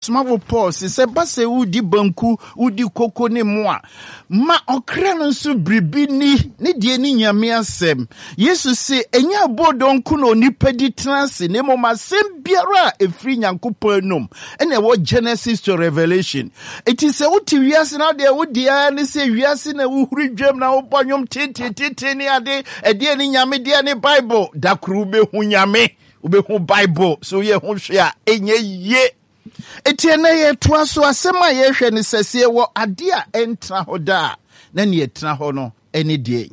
Ɔsomafo Paul se, sɛ ɛba sɛ wodi banku, wodi koko ne mo a, ma ɔkra no nso biribi nni, ne deɛ ne Nyame asɛm. Yesu se, ɛnyɛ aboodoo nko na onipa di tena ase, na mmom asɛm biara a ɛfiri Nyankopɔn anom, ɛna ɛwɔ Genesis to Revelation. Enti sɛ wote wiase na deɛ wodi ara ne sɛ wiase na wohuri dwam na wobɔ nnwom teteetete ne ade, ɛdeɛ ne Nyame deɛ ne Bible, da koro wobɛhu Nyame. Wobɛhu Bible so woyɛ ho hwɛ a, ɛnyɛ yie. Enti ɛnnɛ yɛtoa so, asɛm a yɛrehwɛ ne sɛ, sɛ yɛwɔ adeɛ a ɛntena hɔ daa a, na nea ɛtena hɔ no ne deɛn?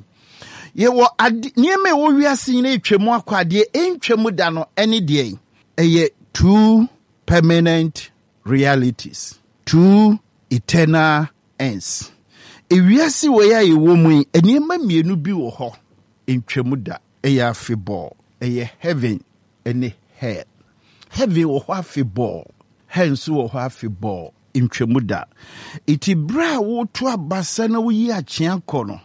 Yɛwɔ ade, nneɛma a ɛwɔ wiase nyinaa atwa mu akɔ adeɛ ɛntwa mu da no ne deɛn? Ɛyɛ two permanent realities, two eternal ends. Ewiase wei a yɛwɔ mu yi, nneɛma mmienu bi wɔ hɔ, ɛntwa mu da. Ɛyɛ afebɔɔ. Ɛyɛ heaven ne hell. Heaven wɔ hɔ afebɔɔ, hell nso wɔ hɔ afebɔɔ, ntwamu da. Enti berɛ a woreto abasa na woyi akyea kɔ no,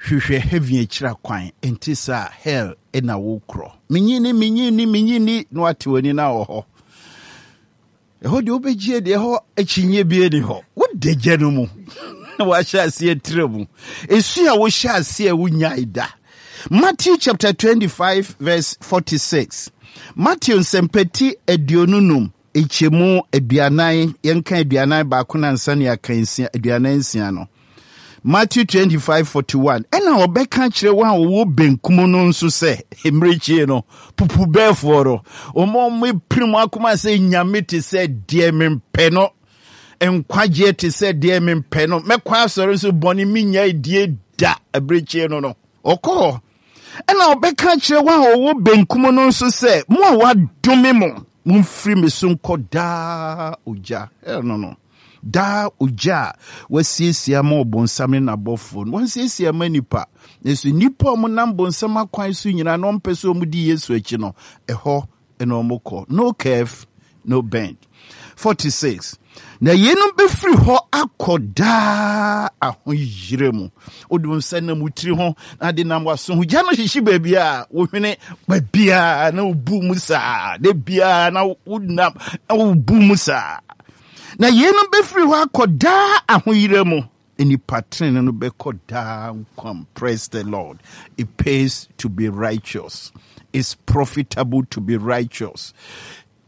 hwehwɛ heaven akyira kwan, ɛnte saa a hell na wokorɔ. Menyini, menyini, menyini, na wate w'ani na wɔ hɔ. Ɛhɔ deɛ wobɛgye deɛ ɛhɔ akyinnye bi ni hɔ. Woda gya no mu na wahyɛ aseɛ trɛ mu. Esu a wohyɛ aseɛ wonyae da. Matthew chapter 25 verse 46. Matthew nsɛmpati 25 nkyɛmu 40, yɛnka 41 na ansa ne yɛaka 46 no. Matthew 25 41. Ɛna ɔbɛka kyerɛ wɔn a wɔwɔ benkum no nso sɛ, mmirekyie no, pupubɛɛfoɔ no, wɔn a wɔapirim akoma sɛ nyame te sɛ deɛ mempɛ no, nkwagyeɛ te sɛ deɛ mempɛ no, mɛkɔ asɔre nso bɔne menya die da, abirekyie no no, ɔkɔ hɔ. Ɛna ɔbɛka kyerɛ wɔn a wɔwɔ benkum no nso sɛ, mo a wɔadome mo, momfiri me so nkɔ daa ogya. Hell no no. Daa ogya a wɔasiesie ama ɔbonsam ne n'abɔfoɔ no, wɔansiesie ama nnipa. Nanso nnipa a wɔnam bonsam akwan so nyinaa na wɔmpɛ sɛ wɔdi Yesu akyi no, ɛhɔ na wɔkɔ. No curve, no bend. 46. Na yeinom bɛfiri hɔ akɔ daa ahoyerɛ mu. Wode wo nsa nam wo tiri ho na de nam w'aso ho. Gya no hyehye baabi a wohwene baabiara na wobu mu saa. Da biara na wonam na wobu mu saa. Na yeinom bɛfiri hɔ akɔ daa ahoyera mu. Nnipa tenene no bɛkɔ daa nkwa mu. Praise the Lord. It pays to be righteous. It's profitable to be righteous.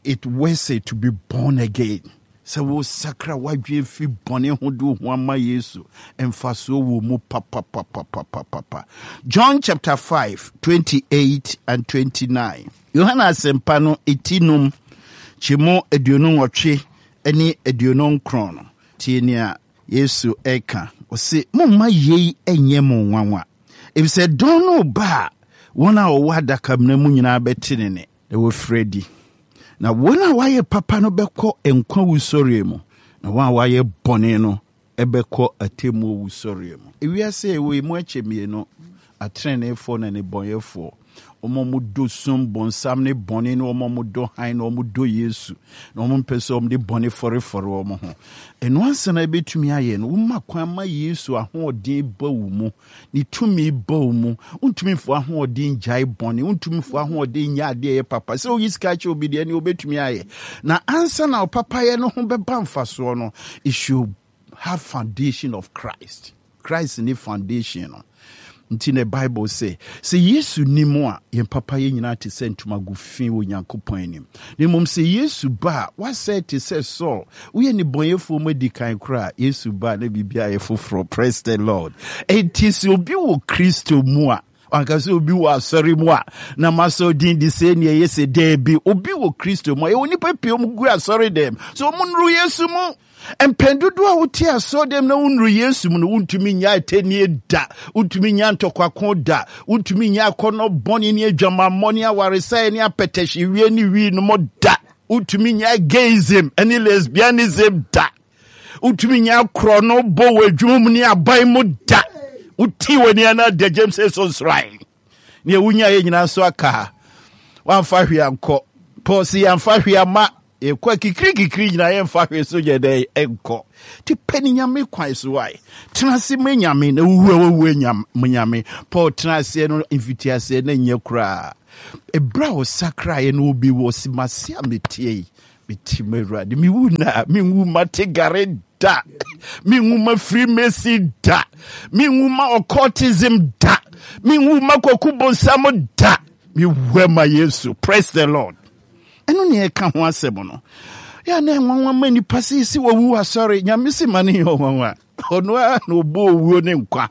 It worth it to be born again. Sɛ wosakra w'adwene fi bɔne ho de wo ho ama Yesu, mfasoɔ wɔ mu papapapapapa. John chapter 5, 28 and 29. Yohane Asɛmpa no ti num, kyɛmu 28 ne 29 no, tie nea Yesu reka. Ɔse, Momma yei nyɛ mo nwanwa, efisɛ dɔn no reba a wɔn a wɔwɔ adakamena mu nyinaa bɛte ne nne, na wɔafiri adi. Na wɔn a wɔayɛ papa no bɛkɔ nkwa wusɔreɛ mu, na wɔn a wɔayɛ bɔne no bɛkɔ atemmuo wusɔreɛ mu. Ewiase a yɛwɔ yi mu akyɛ mmienu, ateneneefoɔ ne nnebɔneyɛfoɔ, wɔn a wɔdɔ sum, bonsam ne bɔne, ne wɔn a wɔdɔ hann na wɔdɔ Yesu, na wɔmpɛ sɛ wɔde bɔne fɔrefɔre wɔn ho. Ɛno ansa na ɛbɛtumi ayɛ no, woma kwan ma Yesu ahoɔden ba wo mu. Ne tumi ba wo mu. Wontumi mfa w'ahoɔden ngyae bɔne. Wontumi mfa w'ahoɔden nyɛ adeɛ ɛyɛ papa. Sɛ woyi sika kyɛ obi deɛ, ɛne wobɛtumi ayɛ. Na ansa na wo papayɛ no ho bɛba mfasoɔ no, it should have foundation of Christ. Christ ne foundation no. Nti na Bible sɛ, sɛ Yesu ni mu a, yɛn papayɛ nyinaa te sɛ ntomago fi wɔ Nyankopɔn anim. Na mmom sɛ Yesu ba a, woasɛe te sɛ Saul. Woyɛ nnebɔneyɛfoɔ mu adi kan koraa a, Yesu ba a, na biribiara ayɛ foforɔ. Praise the Lord. Enti sɛ obi wɔ Kristo mu a, wanka sɛ obi wɔ asɔre mu a, na masɔ din de sɛ nea ɛyɛ sɛ daabi. Obi wɔ Kristo mu a, yɛwɔ nnipa pii wɔn gu asɔre dɛm. So wɔn nnuru Yesu mu. Mpɛn dodoɔ a wote asɔɔdɛm na wonnuru Yesu mu no, wontumi nyɛ atɛnnie da, wontumi nyɛ ntɔkwako da, wontumi nyɛ akɔnnɔ bɔne ne adwamammɔ ne awaresɛeɛ ne apɛtɛhyewie ne wii nom da, wontumi nyɛ gayism ne lesbianism da, wontumi nyɛ akorɔno bɔ wɔ adwuma mu ne aban mu da. Wote w'ani ana adagyam sɛ sonsran. Nea wonyaeɛ nyinaa nso aka ha. Wamfa hwee ankɔ. Paul se yɛamfa hwee amma. Yɛkɔ akikirikikiri nyinaa yɛmfa hwee so nyɛ dɛn nkɔ. Nti pɛ ne Nyame kwan so wae. Tena ase ma Nyame na wowu a wawu anya Nyame. Paul tena aseɛ no mfitiaseɛ na nyɛ koraa. Ɛberɛ a ɔsakraeɛ no obi wɔ se mase a meteɛ yi. Meti ma Awurade. Mewu na menwu ma tegare da. Menwu ma Freemason da. Menwu ma occultism da. Menwu ma kwaku bonsam da. Mewu ma Yesu. Praise the Lord. Ɛno ne ɛka ho asɛm no. Yɛ na ɛnwanwa ma nipa sɛ yɛsi wɔwu asɔre. Nyame si ma no yɛ ɔnwanwa. Ɔno ara na ɔbɔ owuo ne nkwa.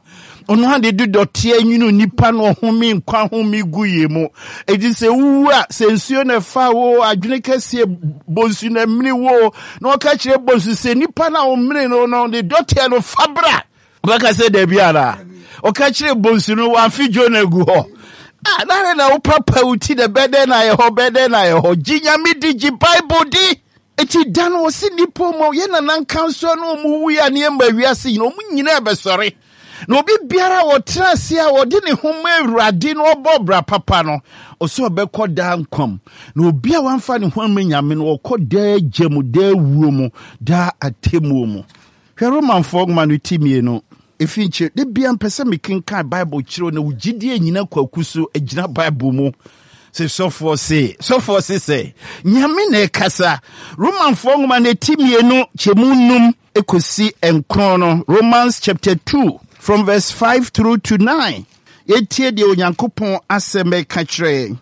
Ɔno ara de de dɔteɛ nwunu nipa na ɔhome nkwa home gu yɛ mu. Enti sɛ wowu a, sɛ nsuo na ɛfa wo, adwene kɛseɛ bonsu na ɛmene wo, na ɔka kyerɛ bonsu sɛ nipa no a ɔmene no no, ne dɔteɛ no fa bra. Ɔbɛka sɛ dabi anaa? Ɔka kyerɛ bonsu no, wamfe Jonah gu hɔ. Ah, na na wopapa wo ti na bɛdɛn na ayɛ hɔ, bɛdɛn na ayɛ hɔ. Gye Nyame di, gye Bible di. Eti da no ɔse nnipa ɔmo yɛ nana nkansoa no ɔmo wui a ne ɛma wiase nyina ɔmo nyinaa bɛsɔre. Na obi biara a ɔtena ase a ɔde ne ho ma Awurade na ɔbɔ bra papa no, ɔsɛ ɔbɛkɔ daa nkwa mu. Na obi a wamfa ne ho amma Nyame no, ɔkɔ daa gya mu, daa wuo mu, daa atemmuo mu. Hwɛ Romanfoɔ nwoma no ti mmienu, efi nkyɛ, da biara mpɛ sɛ mekenkan Bible kyerɛ wo na wo gyidie nyina kwaku so gyina Bible mu. Sɛ sɔfoɔ se, sɔfoɔ se sɛ, Nyame na ɛkasa. Romanfoɔ nwoma no ti mmienu kyɛmu num kɔsi nkron no, Romans chapter 2 from verse 5 through to 9. Yɛtie deɛ Onyankopɔn asɛm ɛka kyerɛ yɛn.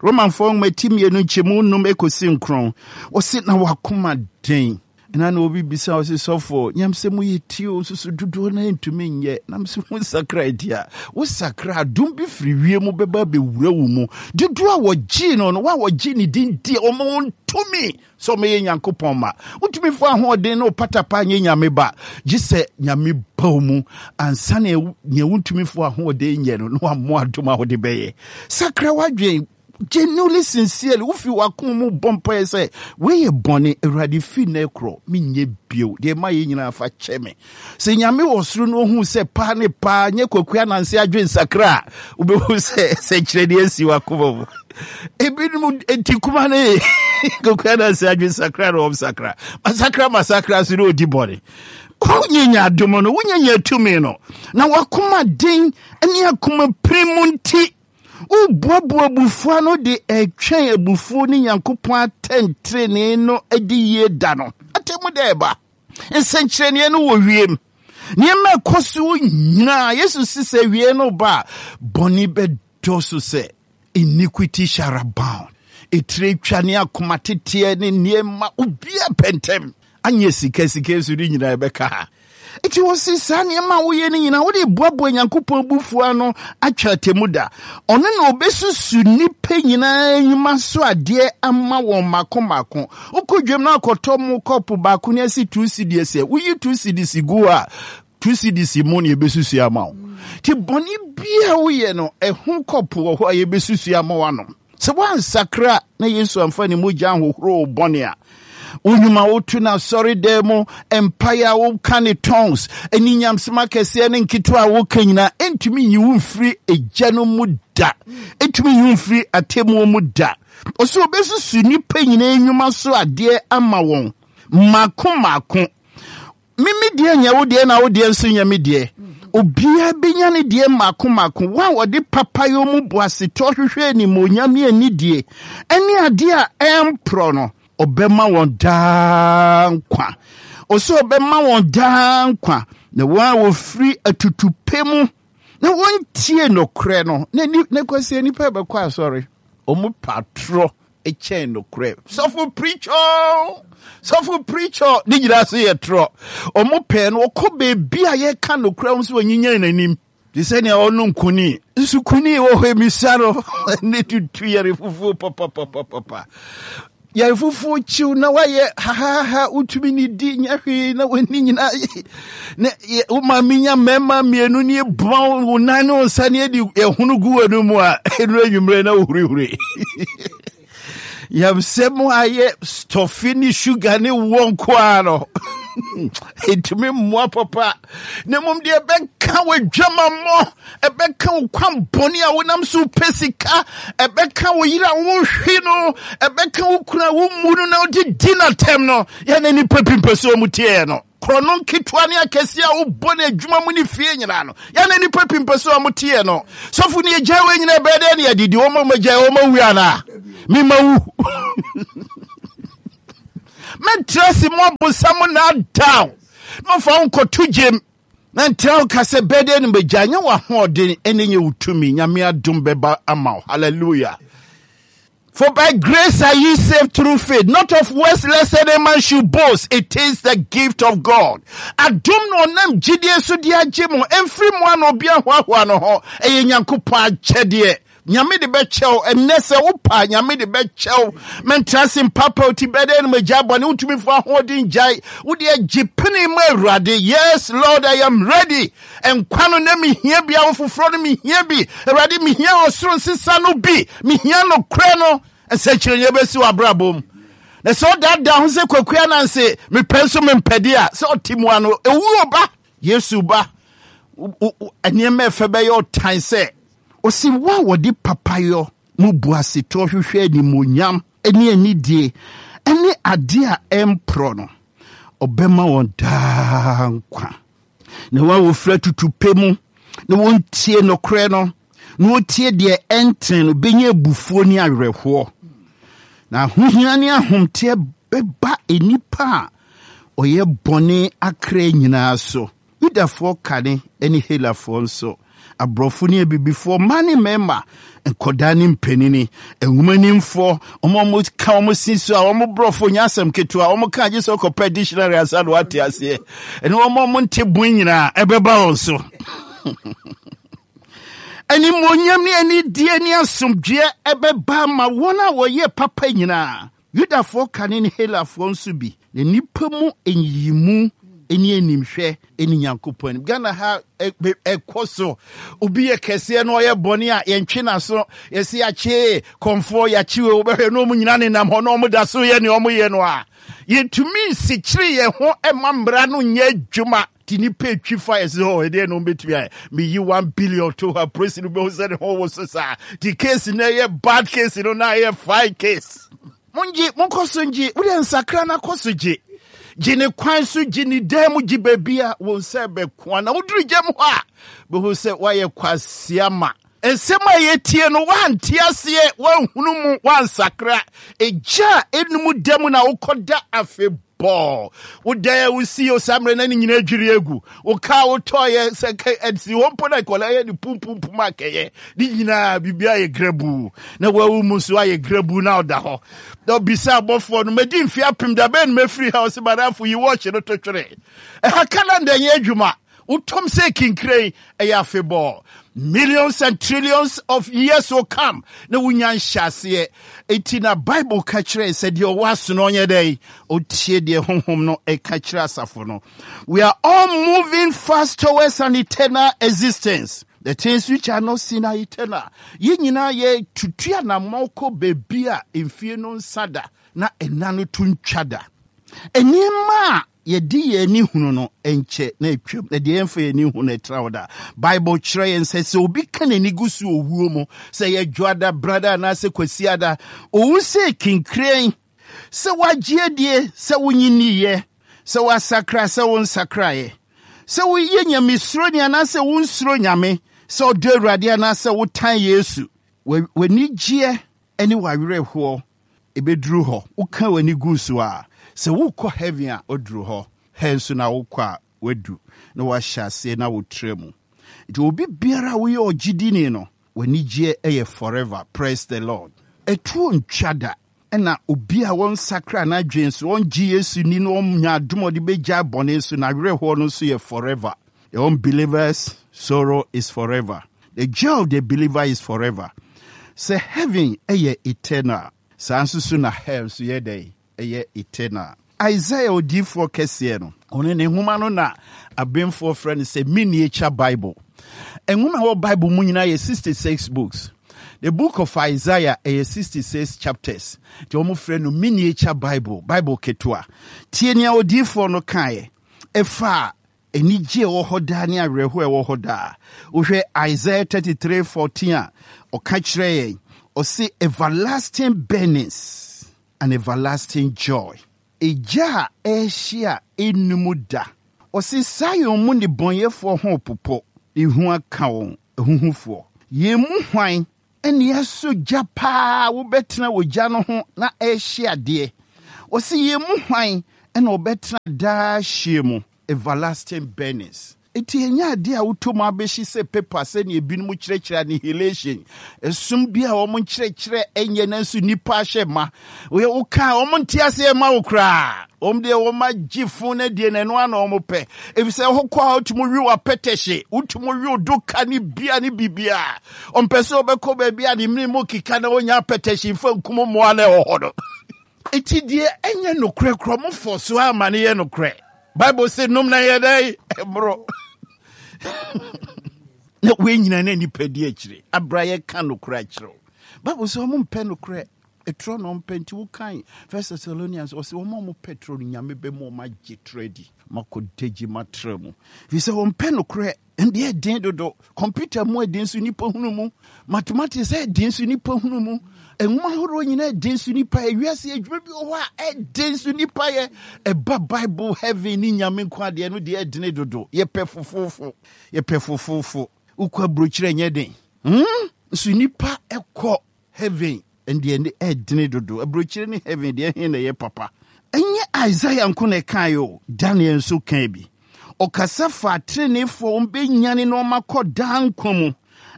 Romanfoɔ nwoma ti mmienu nkyɛmu num kɔsi nkron. Wɔse na wakoma den. Ɛna na obi bisa ɔse sɔfo nyam sɛ mo yɛ ti o nso so dodoɔ no ntumi nyɛ nam sɛ wo nsakra adi a wo sakra adom bi firi wie mu bɛba bɛwura wo mu dodoɔ a wɔgyee no no wo a wɔgye ne din di ɔma wɔn tumi sɛ ɔmɛyɛ Nyankopɔn ma wotumi fo ahoɔden ne wopatapa nyɛ Nyame ba gye sɛ Nyame ba wo mu ansa na nea wontumi fo ahoɔden nyɛ no na wammɔ adom a wode bɛyɛ sakra w'adwen Genuinely, sincerely, wofi w'akoma mu bɔ mpaeɛ sɛ, wei yɛ bɔne, Awurade fi nnɛ korɔ, menyɛ bio, deɛ ɛma yɛ nyinaa fa kyɛ me. Sɛ Nyame wɔ soro na ohu sɛ paa ne paa, nyɛ Kwaku Ananse adwen sakra a, wobɛhu sɛ sɛnkyerɛnneɛ asi w'akoma mu. Ebinom nti kuma ne Kwaku Ananse adwen sakra na wɔn sakra. Masakra masakra so na odi bɔne. Wonyanya adom no, wonyanya tumi no, na w'akoma den ne akoma pirim nti, Woboaboa abufuo ano de retwɛn abufuo ne Nyankopɔn atɛntrenee no adi yie da no. Atemmu da ɛba. Nsɛnkyerɛnneɛ no wɔ wiem. Nneɛma ɛkɔ so nyinaa, Yesu si sɛ awie no ba a, bɔne bɛdɔɔso sɛ iniquity shall abound. Etire twa ne akoma teteɛ ne nneɛma obiara pɛ ntɛm. Anyɛ sika sika nso ne nyinaa ɛbɛka ha. Enti wɔse saa nneɛma a woyɛ no nyinaa wode boaboa Nyankopɔn abufuo ano atwa atemmu da. Ɔno na ɔbɛsusu nnipa nyinaa nnwuma so adeɛ ama wɔn mmaako mmaako. Wokɔ dwam na akɔtɔ mo kɔpo baako ne asi two cedis ɛ, woyi two cedis gu hɔ a, two cedis mu na yɛbɛsusu ama wo. Nti bɔne biara woyɛ no, ɛho kɔpo wɔ hɔ a yɛbɛsusu ama woanom. Sɛ woansakra na Yesu amfa ne mogya anhohoro wo bɔne a, wo nnwuma woto no asɔredan mu, mpaeɛ a woka ne tongues, ne nyamsɛm akɛseɛ ne nketewa a woka nyinaa, ɛntumi nyi wo mfiri egya no mu da. Ɛntumi nyi wo mfiri atemmuo mu da. Ɔsɛ ɔbɛsusu nnipa nyinaa nnwuma so adeɛ ama wɔn mmaako mmaako. Me me deɛ nyɛ wo deɛ na wo deɛ nso nyɛ me deɛ. Obiara bɛnya ne deɛ mmaako mmaako. Wɔn a wɔde papayɔ mu boasetɔ hwehwɛ animuonyam ne anidie ne adeɛ a ɛmporɔ no, ɔbɛma wɔn daa nkwa. Ɔsɛ ɔbɛma wɔn daa nkwa. Na wɔn a wɔfiri atutupɛ mu na wɔntie nokorɛ no, na ni, na kwasi nnipa bɛkɔ asɔre, wɔn pa atorɔ kyɛn nokorɛ. Sɔfo preacher, sɔfo preacher, ne nyinaa so yɛ torɔ. Wɔn pɛɛ no, wɔkɔ baabi a yɛka nokorɛ wɔn so wɔnyinyan n'anim. Te sɛ nea ɔnom kuni. Nso kuni wɔ hɔ emisa no ne tutu yɛre fufuo papapapapa. Yɛre fufuo kyiw na wayɛ hahaha wotumi ne di nyɛ hwee na w'ani nyinaa na wo maame nya mmarima mmienu ne ebuma wo nan ne wo nsa ne edi ɛhono gu w'ani mu a ɛnu anwummerɛ na wohurihuri. Yamsɛm ayɛ stɔfe ne sugar ne woɔ nko ara no ɛntumi mmoa papa na mmom deɛ ɛbɛka w'adwamammɔ ɛbɛka wo kwan bɔne a wonam so pɛ sika ɛbɛka wo yere a wonhwe no ɛbɛka wo kunu a wommu no na wode di n'atɛm no yɛne nnipa pii mpɛ sɛ ɔmu teɛ no korɔno nketewa ne akɛseɛ a wobɔ no adwuma mu ne fie nyinaa no yɛne nnipa pii mpɛ sɛ ɔmo teɛ no sɔfo ne agyae wɔ nyina ɛbɛyɛ dɛ ne adidi wɔma ma gyae wɔma wu anaa mema wu. Mɛntra ase mo abonsam nnaadaa wo na ɔmfa wo nkɔto gyem. Na ntra wo ka sɛ bɛdɛn no bɛgya nyɛ w'ahoɔden ɛne nyɛ wo tumi. Nyame adom bɛba ama wo. Hallelujah. For by grace are ye saved through faith, not of works, lest any man should boast. It is the gift of God. Adom na ɔnam gyidie so de agye mo, ɛmfiri mo ano obi ahoahoa no ho. Ɛyɛ Nyankopɔn akyɛdeɛ. Nyame de bɛkyɛw ɛnnɛ sɛ wopa Nyame de bɛkyɛw. Mɛntra ase mpapa ti bɛdɛ no magya bɔne wotumi fo ahoɔden gyae. Wode agye pene ma Awurade. Yes, Lord, I am ready. Nkwa no na mehia bi, awo foforɔ no mehia bi. Awurade, mehia ɔsoro nsesa no bi. Mehia nokorɛ no. Nsɛnkyerɛnneɛ bɛsi wɔ abrabɔ mu. Na sɛ ɔdaadaa ho sɛ Kwaku Ananse, mepɛ nso mempɛ deɛ a, sɛ ɔte mu ano, ewuo ba, Yesu ba, nneɛma ɛfɛ bɛyɛ ɔtan sɛ ɔsi wo a wɔde papayɔ mu boasetɔ hwehwɛ animuonyam ne anidie ne adeɛ a ɛmporɔ no, ɔbɛma wɔn daa nkwa. Na wɔn a wɔfiri atutupɛ mu na wɔntie nokorɛ no na wɔtie deɛ ɛntene no bɛnya abufuo ne awerɛhoɔ. Na ahohia ne ahomteɛ bɛba nnipa a ɔyɛ bɔne akra nyinaa so. Yudafoɔ kane ne Helafoɔ nso, aborɔfo ne abibifoɔ, mmaa ne mmarima, nkɔdaa ne mpanini, nwomanimfoɔ, wɔn a wɔka wɔn si so a wɔn borɔfo nyɛ asɛm ketewa, wɔn ka agye sɛ ɔkɔpɛ dictionary ansa na wate aseɛ, ɛne wɔn a wɔnte bon nyinaa ɛbɛba wɔn so. Animuonyam ne anidie ne asomdwoeɛ ɛbɛba ama wɔn a wɔyɛ papa nyinaa. Yudafoɔ kane ne Helafoɔ nso bi, na nnipa mu nyiyimu ne animhwɛ ne Nyankopɔn anim. Ghana ha ɛkɔ so. Obi yɛ kɛseɛ na ɔyɛ bɔne a yɛntwe n'aso. Yɛsi yɛakye kɔmfoɔ, yɛakye wei, wobɛhwɛ na wɔn nyinaa nenam hɔ na wɔn da so yɛ nea wɔyɛ no a. Yɛntumi nsikyere yɛn ho mma mmara no nyɛ adwuma. Nti nipa etwi fa yɛ sɛ ɔ ɛdeɛ na ɔmbɛtumi ayɛ. Meyi 1 billion to hɔ a polisi no bɛhu sɛ ne ho wo so saa. Nti case no ɛyɛ bad case no na ɛyɛ fine case. Mongye, monkɔ so ngye. Wodeɛ nsakra no akɔ so gye. Gye ne kwan so, gye ne dan mu, gye baabi a wo nsa bɛkoa. Na woduru gyam hɔ a, bɛhu sɛ woayɛ kwasia ma. Nsɛm a yɛtie no, woante aseɛ, woanhunu mu, woansakra. Egya a ɛnum da mu na wokɔda afebɔɔ. Wo dan a wosi o saa mmerɛ na ne nyinaa adwiri agu. Wo kaa wotɔeɛ sɛ ɛsi hɔ mpo na nkwadaa yɛ ne pumpum akɛyɛ. Ne nyinaa biribi ayɛ grabuu. Na wawu mu nso ayɛ grabuu na ɔda hɔ. Na ɔbisa abɔfoɔ no, madi mfeɛ 1000 da bɛn na mɛfiri ha? Ɔse madamfo yi wɔɔkye no to twere. Ɛha calendar nyɛ adwuma. Wotom sɛ kinkire ɛyɛ afebɔɔ. Millions and trillions of years will come na wonya nhyɛaseɛ. Enti na Bible ka kyerɛ sɛ deɛ ɔwɔ aso no ɔnyɛ dɛn? Ɔtie deɛ honhom no ɛka kyerɛ asafo no. We are all moving fast towards an eternal existence. The things which are not seen are eternal. Yɛn nyinaa yɛtutu anammɔn kɔ baabi a mfie no nsa da na ɛna no to ntwa da. Nneɛma a yɛde yɛn ani hunu no nkyɛ na atwam, na deɛ yɛmfa yɛn ani hu no ɛtra hɔ daa. Bible kyerɛ yɛn sɛ sɛ obi ka n'ani gu so owuo mu, sɛ yɛ dwoada, brada anaasɛ kwasiada, owu sɛ kinkirɛn, sɛ wagye adie, sɛ wonye nniiɛ, sɛ wasakra, sɛ wonsakraeɛ, sɛ woyɛ nyamesuroni anaasɛ wonsuro Nyame, sɛ ɔdɔ Awurade anaasɛ wotan Yesu, w'anigyeɛ ne w'awerɛhoɔ ɛbɛduru hɔ. Woka w'ani gu so a, sɛ wokɔ heaven a, woduru hɔ. Hell nso na wokɔ a, wadu na wahyɛ aseɛ na wotrɛ mu. Nti obi biara a woyɛ ɔgyedini no, w'anigyeɛ yɛ forever. Praise the Lord. Ɛtuo ntwa da. Ɛna obi a wɔnsakra n'adwene so, ɔngye Yesu ni na ɔnya adom a ɔde bɛgyae bɔne so, n'awerɛhoɔ no nso yɛ forever. The unbeliever's sorrow is forever. The joy of the believer is forever. Sɛ heaven yɛ eternal, saa nso so na hell nso yɛ dɛn? Ɛyɛ eternal. Isaiah odiyifoɔ kɛseɛ no, ɔno ne nwoma no na abenfoɔ frɛ no sɛ miniature Bible. Nwoma a ɛwɔ Bible mu nyinaa yɛ 66 books. The book of Isaiah ɛyɛ 66 chapters. Nti wɔn frɛ no miniature Bible, Bible ketewa. Tie nea odiyifoɔ no kaeɛ ɛfa anigye a ɛwɔ hɔ daa ne awerɛhoɔ a ɛwɔ hɔ daa. Wohwɛ Isaiah 33:14 a, ɔka kyerɛ yɛn, ɔse everlasting burnings and everlasting joy. Egya a ɛrehye a ɛnnum da. Ɔse Sion mu nnebɔneyɛfoɔ ho repopo, ehu aka wɔn, ahuhufoɔ. Yɛn mu hwan ne asɔ gya paa wobɛtena wɔ gya no ho na ɛrehye adeɛ? Ɔse yɛn mu hwan na ɔbɛtena daa hyeɛ mu, everlasting burnings. Enti ɛnyɛ adeɛ a wotɔ mu abɛhye sɛ paper sɛdeɛ ebinom kyerɛkyerɛ annihilation, ɛsom bi a wɔn nkyerɛkyerɛ ɛnyɛ nanso nnipa ahyɛ ma. Woyɛ woka a wɔn nte aseɛ ma wo koraa. Wɔn deɛ wɔn agye fon no adie na ɛno ara na wɔn pɛ. Efisɛ ɛhɔ kɔ a wotumi we w'apɛtɛhye, wotumi we doka ne bia ne biribiara. Ɔmpɛ sɛ ɔbɛkɔ baabi a ne mene mu keka na ɔnya apɛtɛhye mfa nkum mmoa na ɛwɔ hɔ no. Enti deɛ ɛnyɛ nokorɛ korɔ mo fɔ so ama no yɛ nokorɛ. Bible se nom na yɛ dɛn mmoro. Na wei nyina na nipa di akyire. Abra yɛka nokorɛ akyerɛ wo. Bible sɛ ɔmo mpɛ nokorɛ. Ɛtorɔ na ɔmpɛ nti wokan First Thessalonians ɔsɛ wɔn a wɔpɛ torɔ no Nyame bɛma wɔn agye torɔ adi. Makɔ dagyi matra mu. Firi sɛ wɔmpɛ nokorɛ. Ɛnde ɛden dodo. Kɔmputa mu ɛden so nipa hunu mu. Mathematics ɛden so nipa hunu mu. Nwoma ahoroɔ nyinaa ɛden so nipa yɛ. Wiase adwuma bi wɔ hɔ a ɛden so nipa yɛ. Ɛba Bible heaven ne Nyame nko adeɛ no deɛ ɛdene dodo. Yɛpɛ fofoofo. Yɛpɛ fofoofo. Wokɔ aburokyerɛ ɛnyɛ den. Hmm? Nso nipa ɛkɔ Heaven deɛ ne ɛdene dodo. Aburokyire ne heaven deɛ ɛhe na ɛyɛ papa? Ɛnyɛ Isaiah nko na ɛkaeɛ o, Daniel nso kaa bi. Ɔkasa faa teneneefoɔ wɔn bɛnyane na wɔn akɔ daa nkwa mu,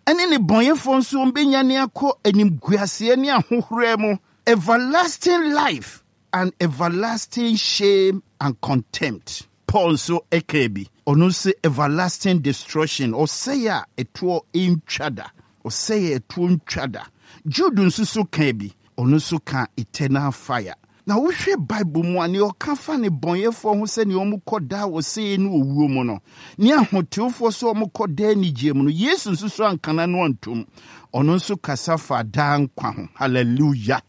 ɛne nnebɔneyɛfoɔ nso wɔn bɛnyane akɔ animguaseɛ ne ahohora mu, everlasting life and everlasting shame and contempt. Paul nso kaa bi. Ɔno nso everlasting destruction, ɔsɛe a ɛtoɔ ntwa da. Ɔsɛe a ɛtoɔ ntwa da. Jude nso so kaa bi. Ɔno nso kaa eternal fire. Na wohwɛ Bible mu a, nea ɔka fa nnebɔneyɛfoɔ ho sɛ nea wɔkɔ daa ɔsɛeɛ ne owuo mu no, ne ahotewofoɔ sɛ wɔkɔ daa anigyeɛ mu no, Yesu nso so anka n'ano antom. Ɔno nso kasa faa daa nkwa ho. Hallelujah!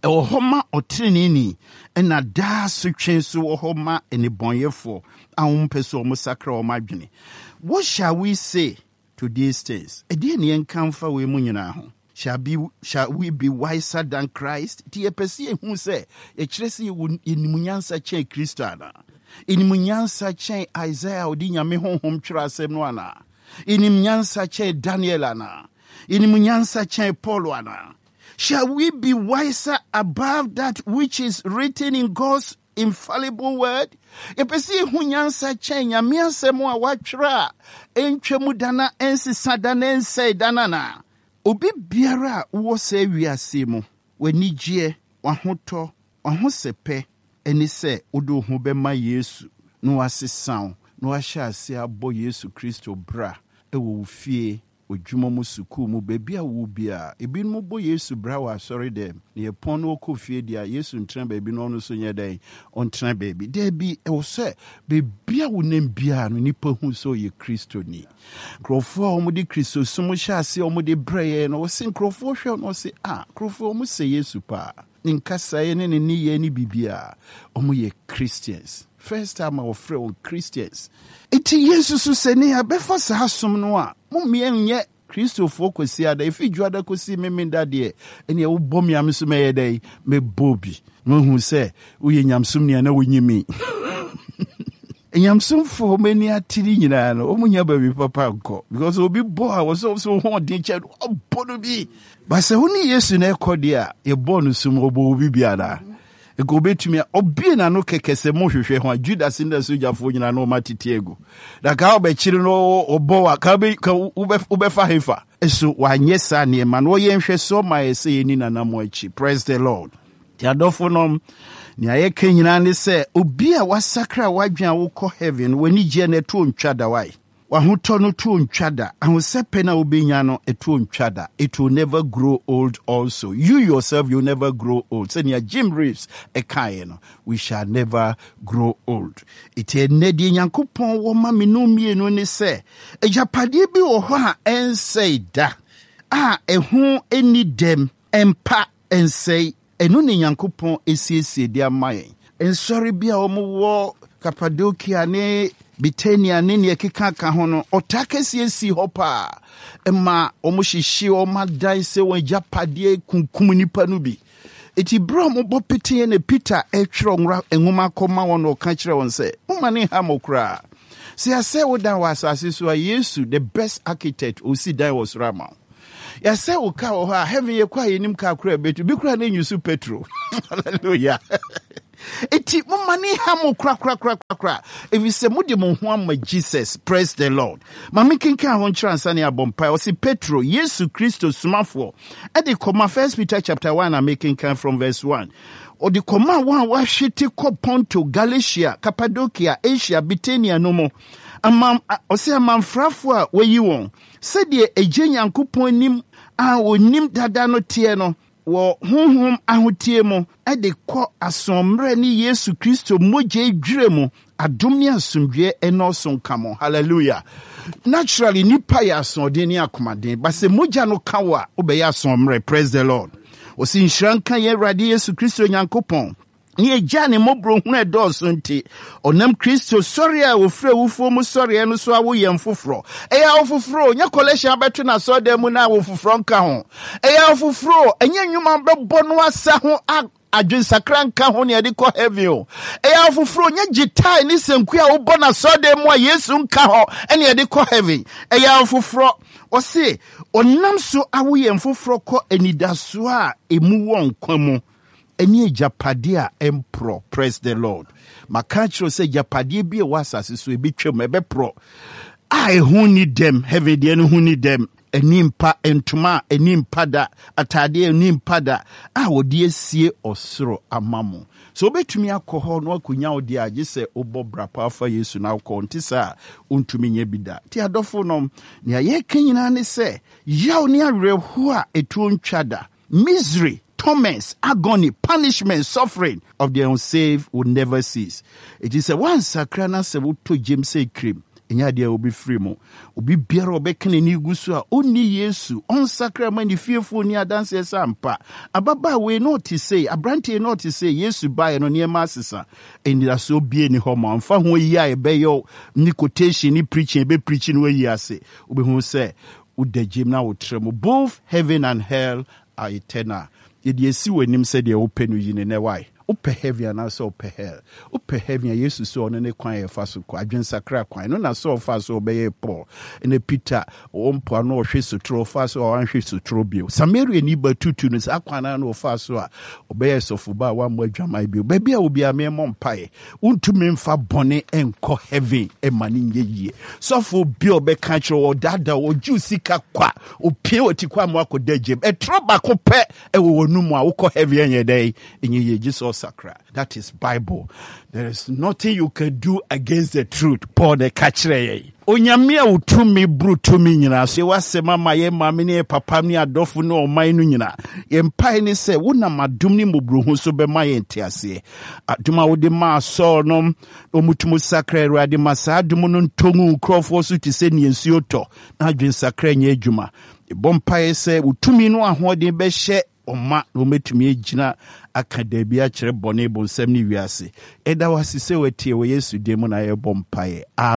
Ɛwɔ hɔ ma ɔtreneeni, ɛna daa asotwe nso wɔ hɔ ma nnebɔneyɛfoɔ a wɔmpɛ sɛ wɔsakra wɔn adwene. What shall we say to these things? Ɛdeɛn na yɛnka mfa wei mu nyinaa ho? Shall, be, shall we be wiser than Christ? Nti yɛpɛ sɛ yɛhu sɛ yɛkyerɛ sɛ yɛwɔ yɛnim nyansa kyɛn Kristo anaa? Yɛnim nyansa kyɛn Isaiah a ɔde Nyame honhom twerɛ asɛm no anaa? Yɛnim nyansa kyɛn Daniel anaa? Yɛnim nyansa kyɛn Paul anaa? Shall we be wiser above that which is written in God's infallible word? Yɛpɛ sɛ yɛhu nyansa kyɛn Nyame asɛm a wɔatwerɛ a ɛntwa mu da na ɛnsesa da na ɛnsɛe da no anaa? Obi biara a wowɔ saa wiase mu, w'anigyeɛ, w'ahotɔ, w'ahosɛpɛ ne sɛ wode wo ho bɛma Yesu na wasesa wo na wahyɛ aseɛ abɔ Yesu Kristo bra wɔ wo fie, W'adwuma mu, sukuu mu, baabi a wowɔ biara. Ebinom bɔ Yesu bra wɔ asɔredɛm, na yɛpɔn na wɔkɔ fie deɛ a, Yesu ntena baabi na ɔno nso nyɛ dɛn? Ɔntena baabi. Daabi, ɛwɔ sɛ baabi a wonam biara no, nnipa hu sɛ ɔyɛ Kristoni. Nkurɔfoɔ a wɔde Kristosom hyɛ aseɛ a wɔde brɛ yɛn no, wɔse nkurɔfoɔ hwɛ no, wɔse, ah, nkurɔfoɔ wɔsɛ Yesu paa. Ne nkasaeɛ ne ne nneyɛɛ ne biribiara, wɔyɛ Christians. First time a wɔfrɛ wɔn Christians. Enti yɛnsusu sɛ ne yɛabɛfa saa som no a, mommeɛ nyɛ Kristofoɔ Kwasiada, ɛfiri Dwoada kɔsi Memenda deɛ, ɛneɛ wobɔ me a me nso mɛyɛ dɛn? Mɛbɔ bi. Na wahu sɛ woyɛ nyamesomni a na wonyi me. Nyamesomfoɔ wɔn ani ate ne nyinaa no, wɔn nya baabi papa nkɔ. Because obi bɔ a wɔsɛ wɔsɛ wɔn ho ɔden kyɛ no, ɔbɔ no bi. Ba sɛ wo ne Yesu na ɛkɔ deɛ a, yɛbɔɔ no sum, ɔbɔ obi bi anaa? Nka obetumi a ɔbue n'ano kɛkɛ sɛ mohwehwɛ ho a Judas ne n'asogyafoɔ nyinaa na wɔn atete agu. Na ka ɔbɛkyere no ɔbɔ wa ka wobɛfa hefa. So wanyɛ saa nneɛma no? Ɔyɛ nhwɛsoɔ ma yɛ sɛ yɛni n'anammɔn akyi. Praise the Lord. Nti adɔfo nom, nea yɛka nyinaa ne sɛ obi a wasakra w'adwene a wokɔ heaven, w'ani gyeɛ no ɛtoɔ ntwa da wae. W'ahotɔ no toɔ ntwa da, ahosɛpɛ no a wobɛnya no ɛtoɔ ntwa da, it will never grow old also, you yourself you will never grow old, sɛnea Jim Reeves ɛkaeɛ no, we shall never grow old. Enti ɛnnɛ deɛ Nyankopɔn wɔ ma me no mmienu ne sɛ, agyapadeɛ bi wɔ hɔ a ɛnsɛe da, a ɛho nni dɛm, ɛmpa, ɛnsɛe, Ɛno na Nyankopɔn asiesie de ama yɛn. Nsɔre bi a wɔwɔ Kapadokia ne Bitania ne nea ɛkeka ka ho no, ɔtaa kɛseɛ sii hɔ paa ma wɔhyehyee wɔn adan sɛ wɔn agyapadeɛ kunkum nnipa no bi. Enti berɛ a wɔbɔ peteɛ na Peter retwerɛ nwora nwoma kɔma wɔn na ɔka kyerɛ wɔn sɛ, Momma ne nha mo koraa. Sɛ yɛasɛe wo dan wɔ asase so a, Yesu, the best architect, ɔsi dan wɔ soro ama wo. Yɛsɛ wo car wɔ hɔ a, heaven yɛkɔ a yɛnim car koraa bɛtu. Bi koraa na ɛnyusu petrol. Hallelujah. Enti momma ne nha mo korakorakorakora, ɛfiri sɛ mode mo ho ama Jesus. Praise the Lord. Ma menkenkan hɔ nkyerɛ ansa ne abɔ mpae. Ɔse Petro, Yesu Kristo somafoɔ, ɛde kɔma First Peter chapter 1 na mekenkan from verse 1. Ɔde kɔma wɔn a wɔahwete kɔ Ponto, Galatia, Cappadocia, Asia, Bithynia no mu. Ama, ɔse amanfrafoɔ a wɔayi wɔn, sɛdeɛ Agya Nyankopɔn anim a ɔnim dada no teɛ no, wɔ honhom ahoteɛ mu de kɔ asoɔmmerɛ ne Yesu Kristo mogya dwirɛ mu, adom ne asomdwoeɛ nnɔɔso nka mo. Hallelujah. Naturally, nipa yɛ asoɔden ne akomaden, but sɛ mogya no ka wo a, wobɛyɛ asoɔmmerɛ. Praise the Lord. Ɔsi nhyira nka yɛn Awurade Yesu Kristo Nyankopɔn ne Agya ne mmɔborɔhunu a ɛdɔɔso nti, ɔnam Kristo sɔre a ɔfiri awufoɔ mu sɔreɛ no so awo yɛn foforɔ. Ɛyɛ awo foforɔ, nyɛ collection abɛto no asɔredan mu na awo foforɔ nka ho. Ɛyɛ awo foforɔ, ɛnyɛ nnwuma bɛbɔ no asa ho adwensakra nka ho ne ɛde kɔ heaven o. Ɛyɛ awo foforɔ, nyɛ gyitae ne sanku a wobɔ no asɔredan mu a Yesu nka hɔ ɛne ɛde kɔ heaven. Ɛyɛ awo foforɔ. Ɔse, ɔnam so awo yɛn foforɔ kɔ anidasoɔ a emu wɔ nkwa mu. Ɛne agyapadeɛ a ɛmporɔ. Praise the Lord. Maka akyerɛ wo sɛ agyapadeɛ bi a ɛwɔ asase so ɛbɛtwam, ɛbɛporɔ a ɛho nni dɛm. Heaven deɛ no ho nni dɛm. Ɛni mpa ntoma a ɛni mpa da, ataadeɛ a ɛni mpa da a wɔde asie ɔsoro ama mo. So wobɛtumi akɔ hɔ na wakɔnya wo deɛ a, gye sɛ wobɔ bra pa fa Yesu na wokɔ. Nte saa a, wontumi nyɛ bi da. Nti adɔfo nom, nea yɛreka nyinaa ne sɛ, yaw ne awerɛhoɔ a ɛtuo ntwa da. Misery, torments, agony, punishment, suffering of the unsaved will never cease. Eti sɛ woansakra na sɛ wotɔ gyem sɛ kirim, ɛnyɛ adeɛ a wobɛfiri mu. Obi biara a ɔbɛka n'ani gu so a ɔnni Yesu, ɔnsakra ma ne fiefoɔ nni adanseɛ sɛ ampa, ababaawa yi na ɔte sei, aberanteɛ yi na ɔte sei, Yesu baeɛ no nneɛma asesa. Anidasoɔ biara nni hɔ ma wo. Mfa ho ayi a ɛbɛyɛ wo ne quotation ne preaching a ɛbɛpreachi no ayi ase. Wobɛhu sɛ Woda gyem na wotra mu. Both heaven and hell are eternal. Yɛde asi w'anim sɛ deɛ wopɛ no yi no nnɛ why? Wopɛ heaven anaasɛ wopɛ hell? Wopɛ heaven a Yesu sɛ ɔno ne kwan a yɛfa so kɔ, adwensakra kwan. Ɛno na Saul faa so ɔbɛyɛɛ Paul. Ɛna Peter ɔwɔ mpoano ɔhwe sotoro, ɔfaa so a wanhwe sotoro bio. Samariani ba tutu no saa kwan no ara na ɔfaa so a ɔbɛyɛɛ sɔfoba a wammɔ adwaman bio. Baabi a obiara memmɔ mpaeɛ. Wontumi mfa bɔne nkɔ heaven ma no nyɛ yie. Sɔfo bi a ɔbɛka kyerɛ wɔ ɔdaadaa ɔgye wo sika kwa, opie wɔ ti kwa ma akɔda gyam. Ɛtorɔ baako pɛ ɛwɔ wɔn mu a wokɔ heaven ɛnyɛ dɛn ɛnyɛ yie gye sɛ ɔsakra. That is Bible. There is nothing you can do against the truth. Paul na ɛka kyerɛ yɛn. Onyame a wo tumi boro tumi nyinaa so, yɛ w'asɛm ama yɛn maame ne yɛn papa ne adɔfo ne ɔman no nyinaa. Yɛn mpae ne sɛ wonam adom ne mmɔborɔhu so bɛma yɛn nteaseɛ. Adom a wode maa Saul no, ɔmutum sakra Awurade ma saa adom no ntɔ ngu nkurɔfoɔ so te sɛ nea nsuo tɔ na adwensakra nyɛ adwuma. Yɛbɔ mpaeɛ sɛ wo tumi no ahoɔden bɛhyɛ ɔma na wɔatumi agyina aka daabi akyerɛ bɔne, bonsam ne wiase. Yɛda wo ase sɛ woatie wɔ Yesu din mu na yɛbɔ mpaeɛ.